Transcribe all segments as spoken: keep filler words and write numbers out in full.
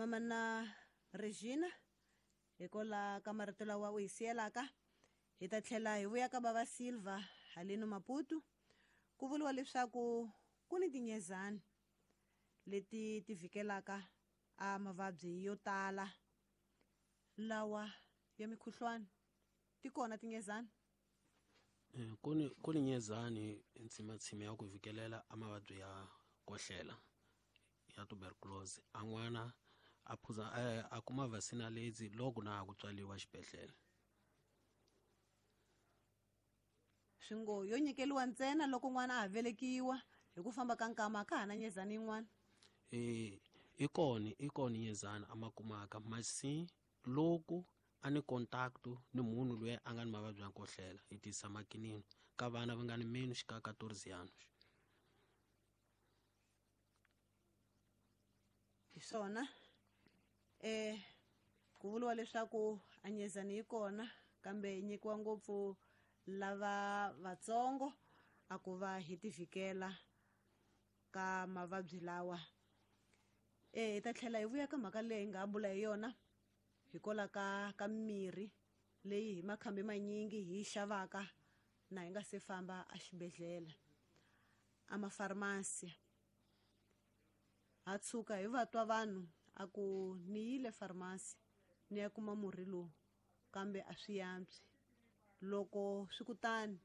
Mamana Regina hikola ka marito lawa u hi siyelaka hi ta tlhela hi vuya ka bava Silva haleno Maputo ku vuriwa leswaku ku ni tinyezani leti ti vhikelaka a mavabyi yo tala lawa ya mikhuhlwani. Ti kona tinyezani? Ku ni ku ni nyezani ntsimatsima ya ku vhikelela a mavabyi ya kohlela ya tuberculosis. A n'wana a phuza a kuma vaccine lezi loko na ku tswaliwa xibedhlele. Swi ngo yo nyikeliwa ntsena loko n'wana a ha velekiwa hi ku famba ka nkama ka ha na nyezani yin'wana? E i kona i kona nyezani a ma kumaka masi loko a ni contact ni munhu loyi a nga ni mavabyi ya nkohlela hi tisa makinini ka vana va nga ni menos ka quatorze anos. Hi swona eh ku vuriwa leswaku a nyezani yi kona kambe yi nyikiwa ngopfu lava vatsongo a ku va hi tivhikela ka mavabyi lawa. Eh hi ta tlhela hi vuya ka mhaka leyi hi nga bula hi yona hikola ka ka mirhi leyi hi makhambi manyingi hi xavaka na hi nga se famba a xibedhlele a mafarmasi. Ha tshuka hi va twa vanhu a ku ni yile farmasi ni ya kuma murhi lowu kambe a swi yantswi. Loko swi kutani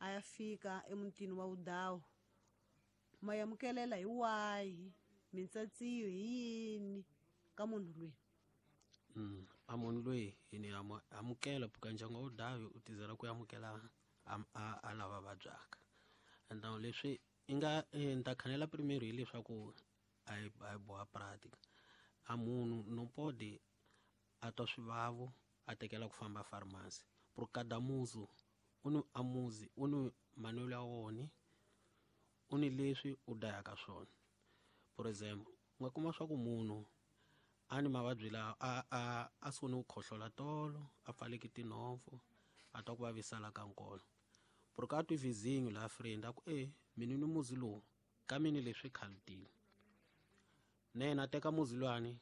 a ya fika emutini wa Vudawu ma amukelela hi wahi mintsatsiyo hi yini ka munhu loyi? Mm, a munhu loyi hi ni amukela puka ndyangu wa Vudawu u tizela ku amukela a a lava vabyaka. Então leswi i nga ni ta khanela primeiro hileswaku a hi a hi boha prática. A munhu no pode a twa swivavo a tekela ku famba farmasi. Por cada muzi u ni a muzi u ni manuel ya wona u ni leswi u dayaka swona. Por exemplo, u nga kuma swa ku munhu a ni mavabyi lawa a a a sungule ku khohlola tolo a pfaleke tinhompfu a twa ku vavisala ka nkolo. Por ka twi vizinho la friend a ku e mina ni muzi lowu ka mini leswi khalutile. Na yena a teka muzi luwani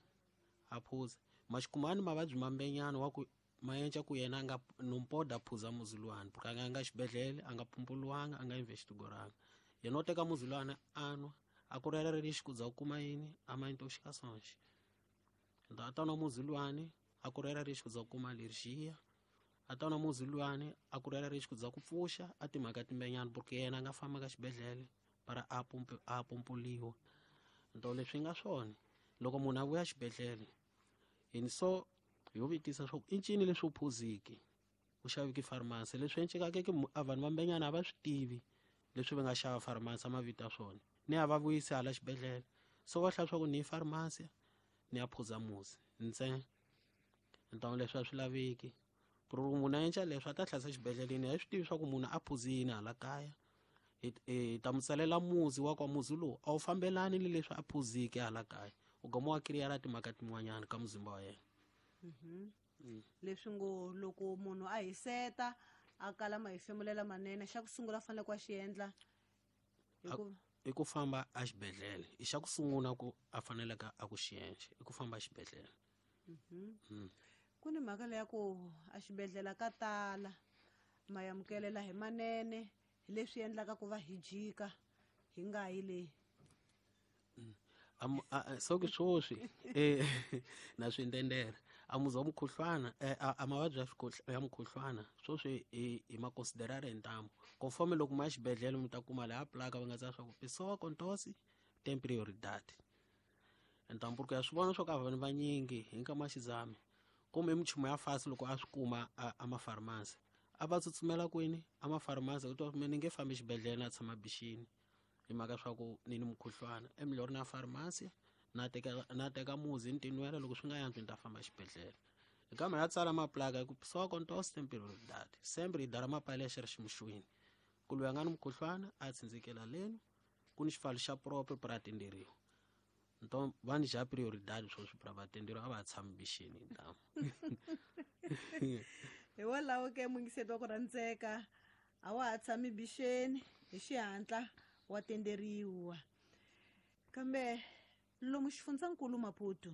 a phuza maxikumani mavabyi mambenyana wa ku ma endla ku yena a nga no poda a phuza muzi luwani porque a nga nga xibedhlele a nga pumpuliwanga a nga investigoranga. Yena u teka muzi luwani a nwa a ku rera lexi ku za ku kuma yini a ma intoxicações. Então a ta nwa muzi luwani a ku rera lexi ku za ku kuma alergia. A ta nwa muzi luwani a ku rera lexi ku za ku pfuxa a timhaka timbenyana porque yena a nga famba ka xibedhlele para a pumpu a pumpuliwa. Então leswi nga swona loko munhu a vuya xibedhlele hi ni so hi vutisa swa ku i ncini leswi u phuziki u xaviki farmasi leswi encekaka ke a vanhu vambenyana a va swi tivi leswi va nga xava farmasi a mavito ya swona ni a va vuyisi hala xibedhlele so va hlaya swa ku ni farmasi ni ya phuza muzi ntsena. Então leswi a swi laveki ku ri munhu a endla leswi a ta hlayisa xibedhleleni a hi swi tivi swa ku munhu a phuzi yini hala kaya. Hi ta mu tsalela muzi wa kwa muzi lowu a wu fambelani ni leswi a phuziki hala kaya u gama wa kiriyara timhaka tin'wanyana ka muzimba wa yena. Leswi ngo loko munhu a hiseta a kala mahefemulela manene xa ku sungula fanele ku a xi endla hikuva i ku famba a xibedhlele i xa ku sungula ku a faneleke a ku xi endla i ku famba a xibedhlele. Ku ni mhaka leya ku a xibedhlele ka tala ma amukelela hi manene hi leswi endlaka ku va hi jika hi nga yi le. Am so ke swoswi eh na swi ndendera a muzi wa mukhuhlwana a mavabyi ya mukhuhlwana swoswi hi ma considerare hi ntamu conforme loko ma ya xibedhlele mi ta kuma laha plaka va nga tsala swa ku pessoa com tosse tem prioridade. Então porque ya swi vona swa ku a vanhu vanyingi hi nkama wa xizame kumbe minchumu ya fasi loko a swi kuma a mafarmasi a va tsutsumela kwini a mafarmasi u twa ni nge fambi xibedhlele na tshama bixini hi mhaka swa ku ni ni mukhuhlwana e milorho na farmasi na teka na teka muzi ni tinwela loko swi nga yantswi ni ta famba xibedhlele. Hi kama ya tsala maplaka ku pessoa com tosse tem prioridade sempre hi dara mapale xi ri ximuxweni ku loyi a nga ni mukhuhlwana a tsindzikela leno ku ni xipfalo xa proprio para atenderiwa. Então va ni já prioridade swoswi para va atenderiwa a va tshami bixini ntamu. Hikwalaho ke mungiseti wa ku rhandzeka a wa ha tshami bixeni hi xihatla wa tenderiwa. Kambe lomu xifundzankulu Maputo